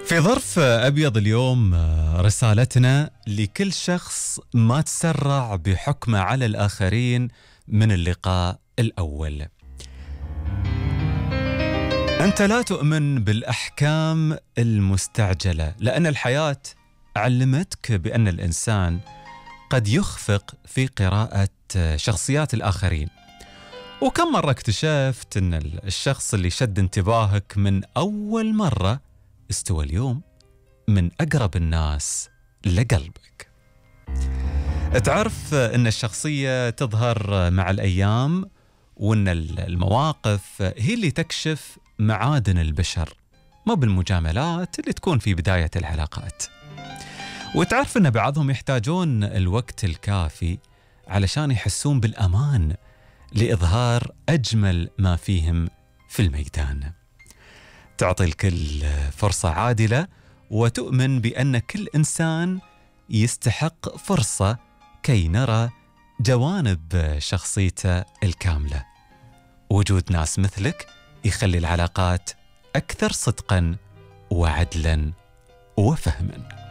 في ظرف أبيض اليوم رسالتنا لكل شخص ما تسرع بحكمه على الآخرين من اللقاء الأول. أنت لا تؤمن بالأحكام المستعجلة، لأن الحياة علمتك بأن الإنسان قد يخفق في قراءة شخصيات الآخرين. وكم مرة اكتشفت أن الشخص اللي شد انتباهك من أول مرة استوى اليوم من أقرب الناس لقلبك. تعرف أن الشخصية تظهر مع الأيام، وأن المواقف هي اللي تكشف معادن البشر، ما بالمجاملات اللي تكون في بداية العلاقات. وتعرف أن بعضهم يحتاجون الوقت الكافي علشان يحسون بالأمان لإظهار أجمل ما فيهم في الميدان. تعطي الكل فرصة عادلة، وتؤمن بأن كل إنسان يستحق فرصة كي نرى جوانب شخصيته الكاملة. وجود ناس مثلك يخلي العلاقات أكثر صدقاً وعدلاً وفهماً.